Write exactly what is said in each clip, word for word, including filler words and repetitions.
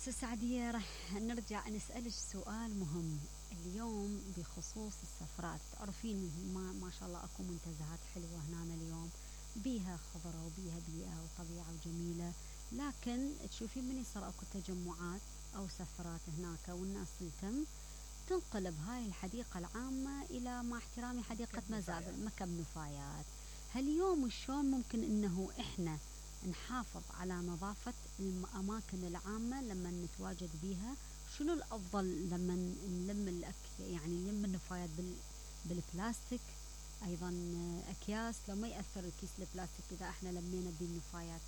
ست سعدية، راح نرجع نسألك سؤال مهم اليوم بخصوص السفرات. تعرفين ما, ما شاء الله اكو منتزهات حلوة هنا اليوم، بيها خضرة وبيها بيئة وطبيعة وجميلة، لكن تشوفين من يصير اكو تجمعات او سفرات هناك والناس تلتم تنقلب هاي الحديقة العامة الى، مع احترامي، حديقة مزابل، مكب نفايات. هاليوم شلون ممكن انه احنا نحافظ على نظافة الأماكن العامة لما نتواجد بيها؟ شنو الأفضل لما نلم الأك يعني نلم النفايات بال بالبلاستيك؟ أيضا أكياس، لو ما يأثر الكيس البلاستيك إذا احنا لمينا بالنفايات.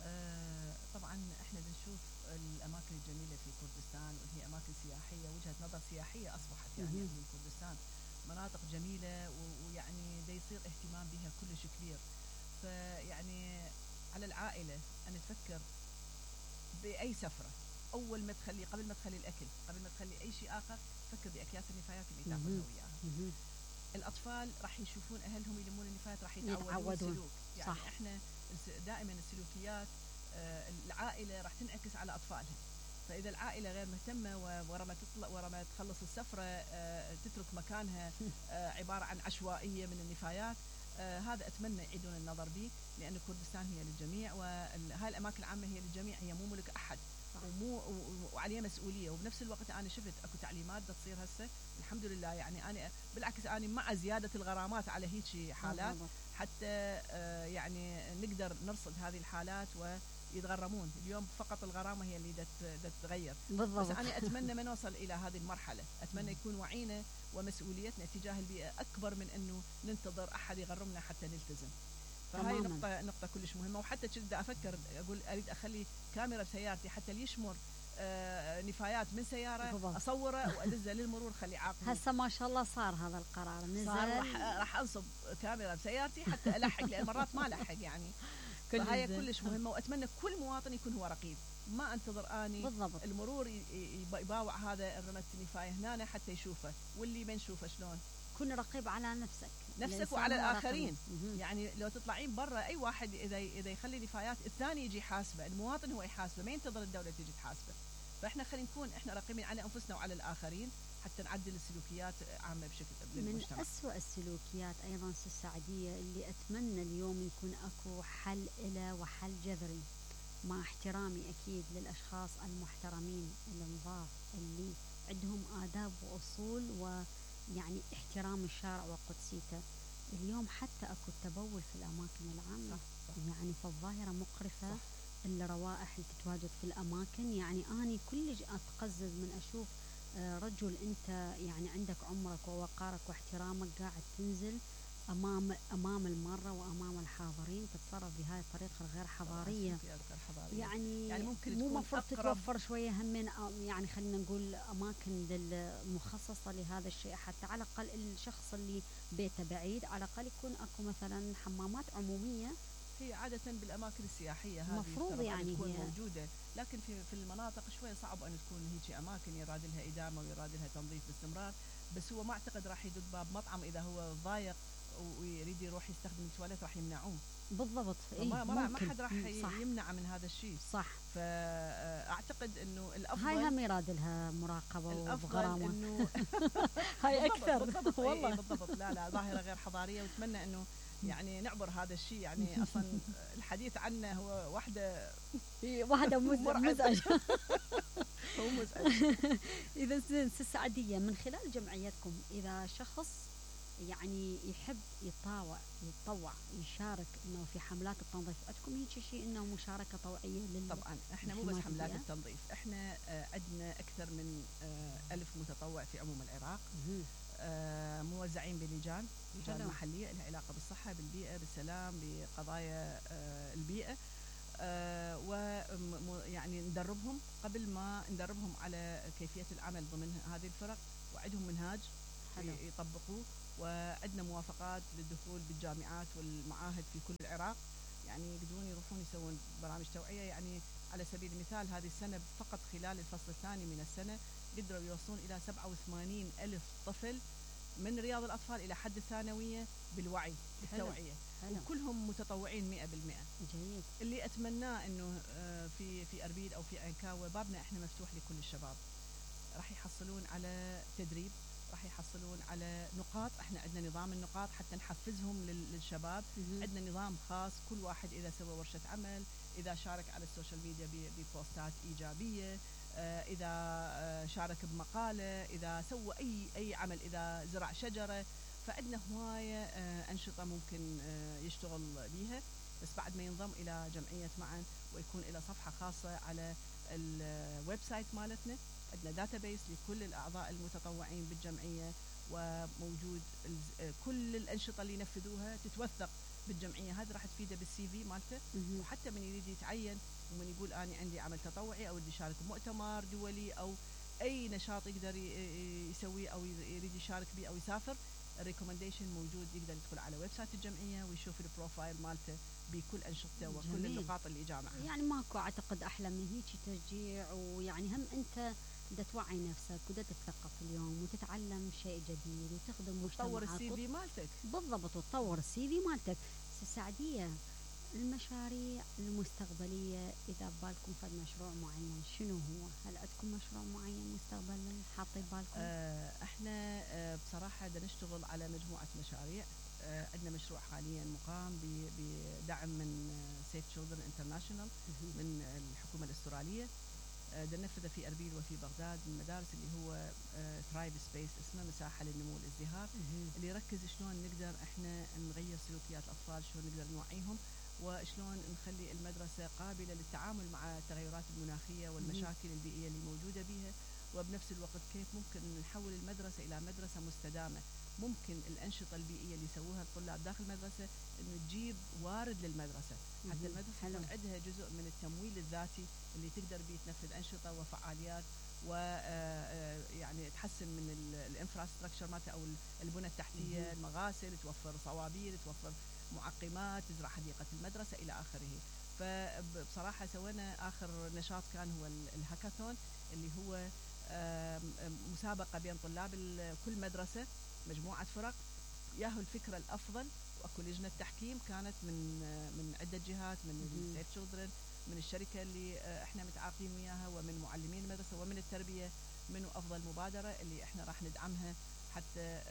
آه طبعا احنا بنشوف الأماكن الجميلة في كردستان، وهي أماكن سياحية، وجهة نظر سياحية أصبحت يعني في كردستان، مناطق جميلة ويعني دا يصير اهتمام بها كلش كبير. فيعني على العائلة أن تفكر بأي سفرة، أول ما تخلي قبل ما تخلي الأكل، قبل ما تخلي أي شيء آخر، فكر بأكياس النفايات اللي تاخذها وياها. الأطفال راح يشوفون أهلهم يلمون النفايات، راح يتعودون السلوك. يعني صح. إحنا دائما السلوكيات آه العائلة راح تنعكس على أطفالها. فإذا العائلة غير مهتمة ورا ما تطلع ورا ما تخلص السفرة آه تترك مكانها آه عبارة عن عشوائية من النفايات، آه هذا أتمنى يعيدون النظر به، لأن كردستان هي للجميع، وهاي الأماكن العامة هي للجميع، هي مو ملك أحد ومو وعليها مسؤولية. وبنفس الوقت أنا شفت أكو تعليمات دا تصير هسه الحمد لله، يعني أنا بالعكس أنا مع زيادة الغرامات على هيك حالات حتى آه يعني نقدر نرصد هذه الحالات ويتغرمون. اليوم فقط الغرامة هي اللي دا تتغير بالضبط. بس أنا أتمنى ما نوصل إلى هذه المرحلة، أتمنى يكون وعينا ومسؤوليتنا تجاه البيئة أكبر من أنه ننتظر أحد يغرمنا حتى نلتزم. فهاي نقطة نقطة كلش مهمة. وحتى كنت أفكر أقول أريد أخلي كاميرا بسيارتي حتى اللي يشمر آه نفايات من سيارة بالضبط. أصوره وأدزه للمرور خلي عاقل. هسه ما شاء الله صار هذا القرار نزل، صار راح راح أنصب كاميرا بسيارتي حتى ألحق، لأن مرات ما ألحق يعني. فهاي كلش مهمة، وأتمنى كل مواطن يكون هو رقيب، ما انتظر اني بالضبط. المرور يباوع هذا الرمت النفاية هنا حتى يشوفه، واللي ما نشوفه شلون. كن رقيب على نفسك نفسك وعلى الآخرين. يعني لو تطلعين برا أي واحد إذا إذا يخلي نفايات الثاني يجي يحاسبه، المواطن هو يحاسبه، ما ينتظر الدولة تيجي تحاسبه. فإحنا خلينا نكون إحنا رقيبين على أنفسنا وعلى الآخرين حتى نعدل السلوكيات عامة بشكل بالمجتمع. من أسوأ السلوكيات أيضا ست سعدية اللي أتمنى اليوم يكون أكو حل إله وحل جذري، مع احترامي أكيد للأشخاص المحترمين النظاف اللي عندهم آداب وأصول ويعني احترام الشارع وقدسيته. اليوم حتى أكو التبول في الأماكن العامة، صح صح. يعني فالظاهرة مقرفة، الروائح اللي تتواجد في الأماكن. يعني أنا كلش أتقزز من أشوف رجل أنت يعني عندك عمرك ووقارك واحترامك قاعد تنزل أمام أمام المارة وأمام الحاضرين تتصرف بهاي الطريقة الغير حضارية. يعني, يعني ممكن مو مفروض تتوفر شوية همين يعني خلينا نقول أماكن مخصصة لهذا الشيء، حتى على الأقل الشخص اللي بيته بعيد على الأقل يكون أكو مثلا حمامات عمومية. هي عادة بالأماكن السياحية هذه مفروض يعني تكون موجودة، لكن في في المناطق شوية صعب أن تكون هيك أماكن يراد لها إدامة ويراد لها تنظيف باستمرار. بس هو ما أعتقد راح يدق باب مطعم إذا هو ضايق ويريد يروح يستخدم التواليت راح يمنعوه بالضبط. إيه ما, ما حد راح يمنع من هذا الشيء، صح. فأعتقد إنه الأفضل هاي هم يراد لها مراقبة وغرامة إنه هاي أكثر بالضبط والله بالضبط. لا لا ظاهرة غير حضارية، وأتمنى إنه يعني نعبر هذا الشيء. يعني أصلا الحديث عنه هو واحدة واحدة مزعج هو مزعج. إذا ست سعدية من خلال جمعيتكم إذا شخص يعني يحب يطاوع يتطوع يشارك انه في حملات التنظيف، عندكم هيك شيء انه مشاركه طوعيه لل طبعا احنا مو بس حملات التنظيف، احنا آه عندنا اكثر من آه ألف متطوع في عموم العراق، آه موزعين بلجان لجان محليه لها علاقه بالصحه بالبيئه بالسلام بقضايا آه البيئه، آه ويعني ندربهم قبل ما ندربهم على كيفيه العمل ضمن هذه الفرق، وعندهم منهاج حلو. يطبقوه، وعندنا موافقات للدخول بالجامعات والمعاهد في كل العراق، يعني يقدرون يروحون يسوون برامج توعية. يعني على سبيل المثال هذه السنة فقط خلال الفصل الثاني من السنة قدروا يوصلون إلى سبعة وثمانين ألف طفل من رياض الأطفال إلى حد الثانوية بالوعي بالتوعية، وكلهم متطوعين مئة بالمئة. جيد. اللي أتمناه إنه في في أربيل أو أو في عنكاوة بابنا إحنا مفتوح لكل الشباب. راح يحصلون على تدريب، راح يحصلون على نقاط، احنا عندنا نظام النقاط حتى نحفزهم للشباب. عندنا نظام خاص، كل واحد إذا سوى ورشة عمل، إذا شارك على السوشيال ميديا ببوستات إيجابية، إذا شارك بمقالة، إذا سوى أي أي عمل، إذا زرع شجرة، فعندنا هواية أنشطة ممكن يشتغل بيها. بس بعد ما ينضم إلى جمعية معا ويكون إلى صفحة خاصة على الويب سايت مالتنا، عندنا داتابيس لكل الأعضاء المتطوعين بالجمعية، وموجود كل الأنشطة اللي ينفذوها تتوثق بالجمعية. هذا راح تفيده بالسي في مالته، وحتى من يريد يتعين ومن يقول أنا عندي عمل تطوعي أو بدي يشارك بمؤتمر دولي أو أي نشاط يقدر يسويه أو يريد يشارك به أو يسافر، الريكومنديشن موجود، يقدر يدخل على ويب سايت الجمعية ويشوف البروفايل مالته بكل أنشطته وكل النقاط اللي جامعها. يعني ماكو أعتقد أحلى من هيك تشجيع، ويعني هم أنت بدك توعي نفسك وبدك تتثقف اليوم وتتعلم شيء جديد وتخدم مجتمعك وتطور السي في مالتك. بالضبط، وتطور السي في مالتك. سعدية، المشاريع المستقبلية إذا بالكم فد مشروع معين شنو هو؟ هل عندكم مشروع معين مستقبلا حاطين بالكم؟ آه احنا آه بصراحة بدنا نشتغل على مجموعة مشاريع. آه عندنا مشروع حاليا مقام بدعم من سيف تشيلدرن انترناشونال من الحكومة الأسترالية. بدنا ننفذه في أربيل وفي بغداد من المدارس، اللي هو ثرايف سبيس، اسمه مساحة للنمو والازدهار، اللي يركز شلون نقدر احنا نغير سلوكيات الأطفال، شلون نقدر نوعيهم، وشلون نخلي المدرسة قابلة للتعامل مع التغيرات المناخية والمشاكل البيئية اللي موجودة بها، وبنفس الوقت كيف ممكن نحول المدرسة إلى مدرسة مستدامة. ممكن الأنشطة البيئية اللي يسووها الطلاب داخل المدرسة إنه تجيب وارد للمدرسة، حتى المدرسة يكون عندها جزء من التمويل الذاتي اللي تقدر بيه تنفذ أنشطة وفعاليات، ويعني تحسن من الانفراستراكشر مالتها أو البنى التحتية، المغاسل، توفر صوابير، توفر معقمات، تزرع حديقة المدرسة إلى آخره. فبصراحة سوينا آخر نشاط كان هو الهاكاثون، اللي هو مسابقة بين طلاب كل مدرسة، مجموعة فرق ياهو الفكرة الأفضل، وأكو لجنة تحكيم كانت من من عدة جهات، من سيف تشيلدرن، من الشركة اللي احنا متعاقدين وياها، ومن معلمين المدرسة، ومن التربية، منو أفضل مبادرة اللي احنا راح ندعمها حتى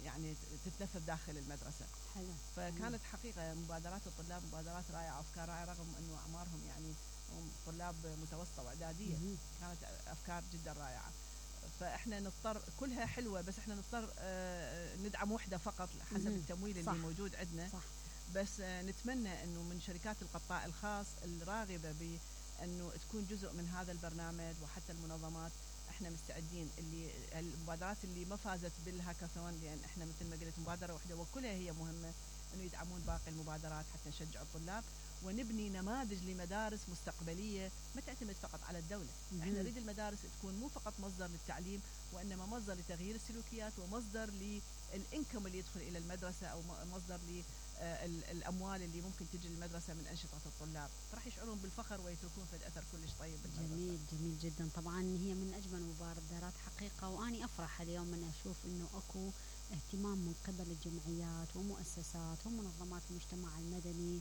يعني تتنفذ داخل المدرسة. حلو. فكانت حقيقة مبادرات الطلاب مبادرات رائعة وأفكار رائعة، رغم أنه أعمارهم يعني طلاب متوسطة وإعدادية، كانت أفكار جدا رائعة. فإحنا نضطر، كلها حلوة، بس إحنا نضطر ندعم وحدة فقط حسب التمويل اللي موجود عندنا. صح. بس نتمنى أنه من شركات القطاع الخاص الراغبة بأنه تكون جزء من هذا البرنامج، وحتى المنظمات احنا مستعدين. اللي المبادرات اللي ما فازت بالهاكاثون، لأن احنا مثل ما قلت مبادرة واحدة وكلها هي مهمة، انه يدعمون باقي المبادرات حتى نشجع الطلاب ونبني نماذج لمدارس مستقبلية ما تعتمد فقط على الدولة. احنا نريد المدارس تكون مو فقط مصدر للتعليم، وإنما مصدر لتغيير السلوكيات، ومصدر للإنكم اللي يدخل إلى المدرسة، أو مصدر للأموال اللي ممكن تجي للمدرسة من أنشطة الطلاب، راح يشعرون بالفخر ويتركون في أثر كلش طيب بالمدرسة. جميل جميل جدا. طبعا هي من أجمل المبادرات حقيقة، وأني أفرح اليوم من أشوف إنه أكو اهتمام من قبل الجمعيات ومؤسسات ومنظمات المجتمع المدني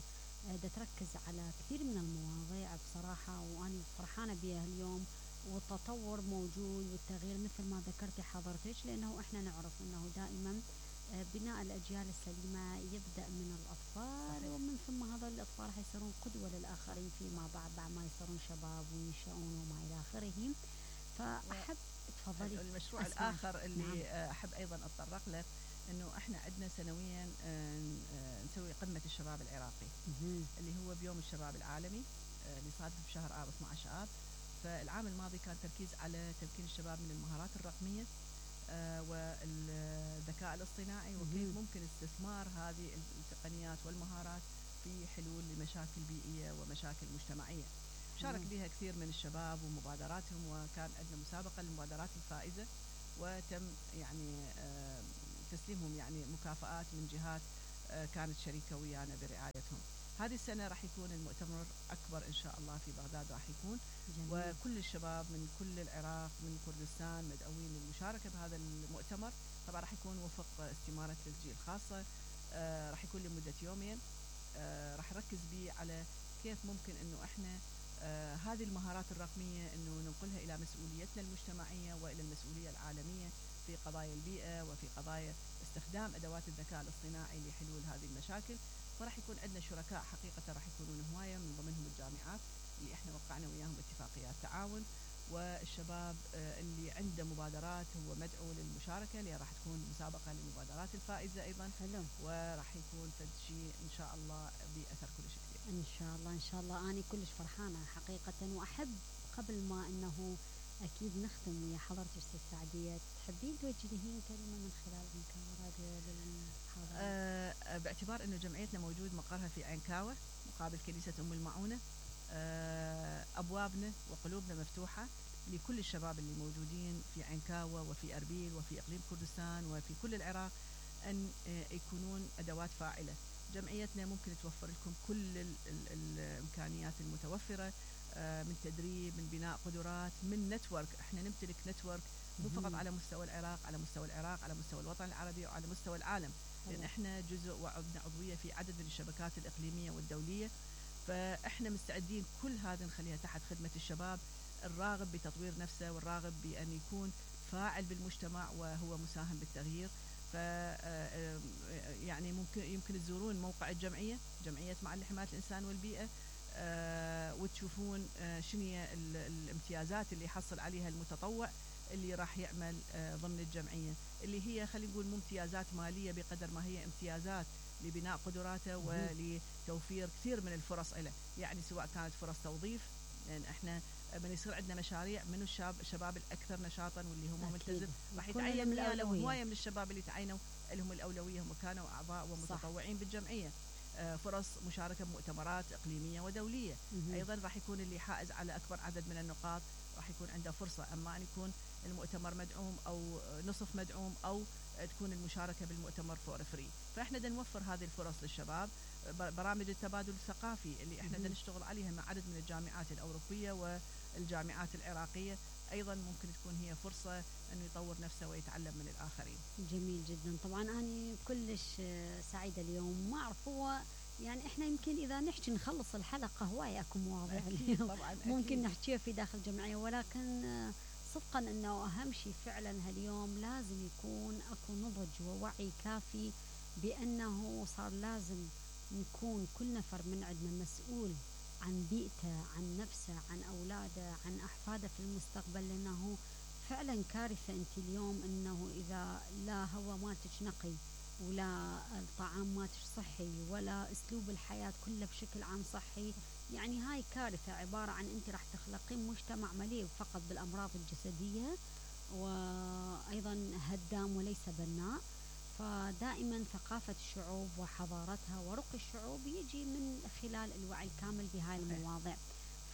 دا تركز على كثير من المواضيع بصراحة، وأنا فرحانة بها اليوم. والتطور موجود والتغيير مثل ما ذكرتي حضرتك، لأنه إحنا نعرف أنه دائما بناء الأجيال السليمة يبدأ من الأطفال. صحيح. ومن ثم هذا الأطفال راح يصيرون قدوة للآخرين فيما بعد، بعد ما يصيرون شباب وينشأون وما إلى آخره. فأحب تفضلي. المشروع أسمع. الآخر اللي نعم. أحب أيضا أتطرق له، إنه إحنا عندنا سنويا نسوي قمة الشباب العراقي، اللي هو بيوم الشباب العالمي اللي صادف بشهر آب اثنا عشر آب. فالعام الماضي كان تركيز على تمكين الشباب من المهارات الرقمية والذكاء الاصطناعي، وكيف ممكن استثمار هذه التقنيات والمهارات في حلول لمشاكل بيئية ومشاكل مجتمعية. شارك بها كثير من الشباب ومبادراتهم، وكان عندنا مسابقة للمبادرات الفائزة، وتم يعني تسليمهم يعني مكافآت من جهات كانت شريكة ويانا برعايتهم. هذه السنة راح يكون المؤتمر أكبر إن شاء الله في بغداد، راح يكون جميل. وكل الشباب من كل العراق من كردستان مدعوين للمشاركة بهذا المؤتمر. طبعا راح يكون وفق استمارة تسجيل خاصة، آه راح يكون لمدة يومين. آه راح نركز به على كيف ممكن إنه إحنا آه هذه المهارات الرقمية أنه ننقلها إلى مسؤوليتنا المجتمعية وإلى المسؤولية العالمية في قضايا البيئة وفي قضايا استخدام أدوات الذكاء الاصطناعي لحلول هذه المشاكل. فراح يكون عندنا شركاء حقيقة راح يكونون هواية، من ضمنهم الجامعات اللي احنا وقعنا وياهم اتفاقيات تعاون، والشباب اللي عنده مبادرات هو مدعو للمشاركة، اللي راح تكون مسابقة للمبادرات الفائزة أيضا. حلو. وراح يكون فد شيء إن شاء الله بأثر كلش كبير. إن شاء الله إن شاء الله. أنا كلش فرحانة حقيقة، وأحب قبل ما أنه أكيد نختم ويا حضرتك أستاذ سعدية، تحبين توجهين كلمة من خلال عنكاوة راديو للحاضرين؟ أه باعتبار أنه جمعيتنا موجود مقرها في عنكاوة مقابل كنيسة أم المعونة، أه أبوابنا وقلوبنا مفتوحة لكل الشباب اللي موجودين في عنكاوة وفي أربيل وفي إقليم كردستان وفي كل العراق أن يكونون أدوات فاعلة. جمعيتنا ممكن توفر لكم كل ال ال الإمكانيات المتوفرة، من تدريب، من بناء قدرات، من نتورك. احنا نمتلك نتورك مو فقط على مستوى العراق، على مستوى العراق، على مستوى الوطن العربي وعلى مستوى العالم، لأن احنا جزء وعندنا عضوية في عدد من الشبكات الإقليمية والدولية. فاحنا مستعدين كل هذا نخليها تحت خدمة الشباب الراغب بتطوير نفسه والراغب بأن يكون فاعل بالمجتمع وهو مساهم بالتغيير. ف يعني ممكن يمكن تزورون موقع الجمعية، جمعية معا لحماية الإنسان والبيئة، أه وتشوفون أه شنو هي الامتيازات اللي يحصل عليها المتطوع اللي راح يعمل أه ضمن الجمعية، اللي هي خلينا نقول مو امتيازات مالية بقدر ما هي امتيازات لبناء قدراته ولتوفير كثير من الفرص له. يعني سواء كانت فرص توظيف، لأن يعني احنا من يصير عندنا مشاريع من الشباب الشباب الأكثر نشاطا واللي هم ملتزم راح يتعين الأولوية. هواية من الشباب اللي تعينوا لهم الأولوية هم كانوا أعضاء ومتطوعين صح. بالجمعية. فرص مشاركة بمؤتمرات إقليمية ودولية. مم. أيضا راح يكون اللي حائز على أكبر عدد من النقاط راح يكون عنده فرصة، أما أن يكون المؤتمر مدعوم أو نصف مدعوم أو تكون المشاركة بالمؤتمر فور فري. فإحنا دا نوفر هذه الفرص للشباب. برامج التبادل الثقافي اللي إحنا دا نشتغل عليها مع عدد من الجامعات الأوروبية والجامعات العراقية أيضا ممكن تكون هي فرصة أنه يطور نفسه ويتعلم من الآخرين. جميل جدا. طبعا أنا كلش سعيدة اليوم. ما أعرف هو يعني إحنا يمكن إذا نحكي نخلص الحلقة هواية أكو مواضيع اليوم طبعا ممكن نحكيها في داخل الجمعية، ولكن صدقا أنه أهم شيء فعلا هاليوم لازم يكون أكو نضج ووعي كافي بأنه صار لازم نكون كل نفر من عندنا مسؤول عن بيئته، عن نفسه، عن أولاده، عن أحفاده في المستقبل. لأنه فعلا كارثة أنت اليوم أنه إذا لا هو مالتش نقي ولا الطعام مالتش صحي ولا أسلوب الحياة كله بشكل عام صحي، يعني هاي كارثة عبارة عن أنت راح تخلقين مجتمع مليء فقط بالأمراض الجسدية وأيضا هدام وليس بناء. فدائما ثقافة الشعوب وحضارتها ورقي الشعوب يجي من خلال الوعي الكامل بهاي المواضيع.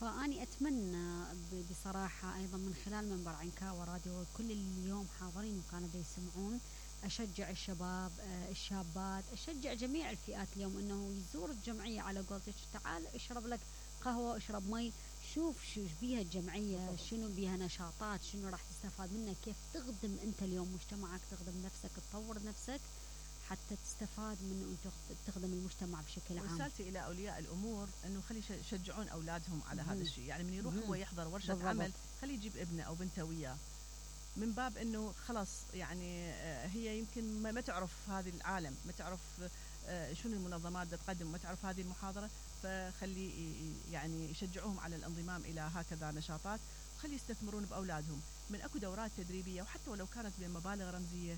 فأني أتمنى بصراحة أيضا من خلال منبر عنكاوة راديو كل اللي اليوم حاضرين وكانوا يسمعون، أشجع الشباب الشابات، أشجع جميع الفئات اليوم أنه يزور الجمعية على قولتك، تعال اشرب لك قهوة اشرب مي، شوف شو بيها الجمعية، شنو بيها نشاطات، شنو راح تستفاد منها، كيف تخدم أنت اليوم مجتمعك، تخدم نفسك، تطور نفسك حتى تستفاد من أن تخدم المجتمع بشكل عام. رسالتي إلى أولياء الأمور أنه خلي يشجعون أولادهم على هذا الشيء. يعني من يروح هو يحضر ورشة بالضبط. عمل خلي يجيب ابنه أو بنته وياه، من باب أنه خلاص يعني هي يمكن ما تعرف هذه العالم، ما تعرف شنو المنظمات تقدم، ما تعرف هذه المحاضرة، فخلي يعني يشجعوهم على الانضمام إلى هكذا نشاطات، وخلي يستثمرون بأولادهم من أكو دورات تدريبية، وحتى ولو كانت بمبالغ رمزية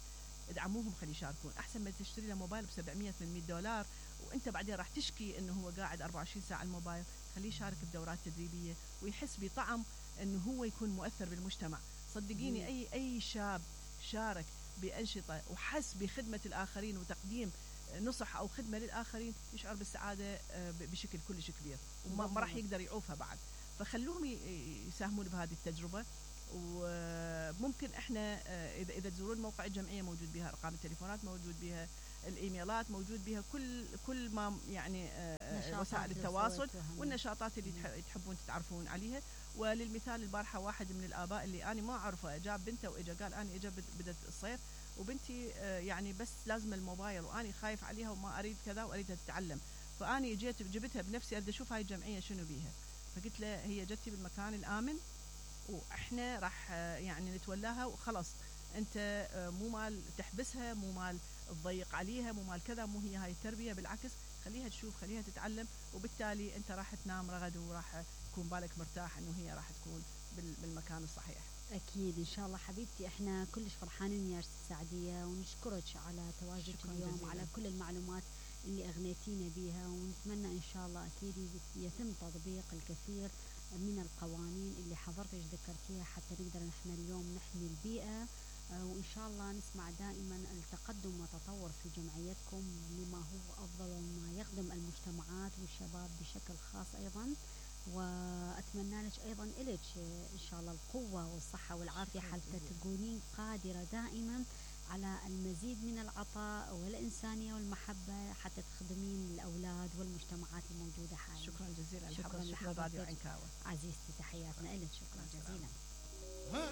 ادعموهم خلي يشاركون، أحسن ما تشتري له موبايل ب سبعمية ثمانمية دولار وأنت بعدين راح تشكي أنه هو قاعد أربعة وعشرين ساعة الموبايل. خليه يشارك بدورات تدريبية ويحس بطعم أنه هو يكون مؤثر بالمجتمع. صدقيني أي أي شاب شارك بأنشطة وحس بخدمة الآخرين وتقديم نصح أو خدمة للآخرين يشعر بالسعادة بشكل كلش كبير وما راح يقدر يعوفها بعد. فخلوهم يساهمون بهذه التجربة. وممكن احنا اذا اذا تزورون موقع الجمعيه موجود بها ارقام التليفونات، موجود بها الايميلات، موجود بها كل كل ما يعني وسائل التواصل والنشاطات اللي تحبون تتعرفون عليها. وللمثال البارحه واحد من الاباء اللي انا ما اعرفه جاب بنته واجا قال انا اجا بدت الصيف وبنتي يعني بس لازم الموبايل وانا خايف عليها وما اريد كذا واريدها تتعلم، فاني جيت جبتها بنفسي اريد اشوف هاي الجمعيه شنو بيها. فقلت له هي جتي بالمكان الآمن وإحنا راح يعني نتولاها وخلاص. أنت مو مال تحبسها، مو مال تضيق عليها، مو مال كذا، مو هي هاي التربية، بالعكس خليها تشوف، خليها تتعلم، وبالتالي أنت راح تنام رغد وراح يكون بالك مرتاح إنه هي راح تكون بالمكان الصحيح. أكيد إن شاء الله حبيبتي، إحنا كلش فرحانين يا سعدية، ونشكرك على تواجدك اليوم جزيلا. وعلى كل المعلومات اللي أغنيتينا بيها، ونتمنى إن شاء الله أكيد يتم تطبيق الكثير من القوانين اللي حضرتك ذكرتيها حتى نقدر نحن اليوم نحمي البيئة. وإن شاء الله نسمع دائما التقدم والتطور في جمعيتكم لما هو أفضل وما يخدم المجتمعات والشباب بشكل خاص أيضا. وأتمنى لك أيضا إلك إن شاء الله القوة والصحة والعافية حتى تكونين قادرة دائما على المزيد من العطاء والإنسانية والمحبة حتى تخدمين الأولاد والمجتمعات الموجودة حاليا. شكرا جزيلا. شكرا شكرا راديو عنكاوة عزيزتي، تحياتنا لك، شكرا جزيلا.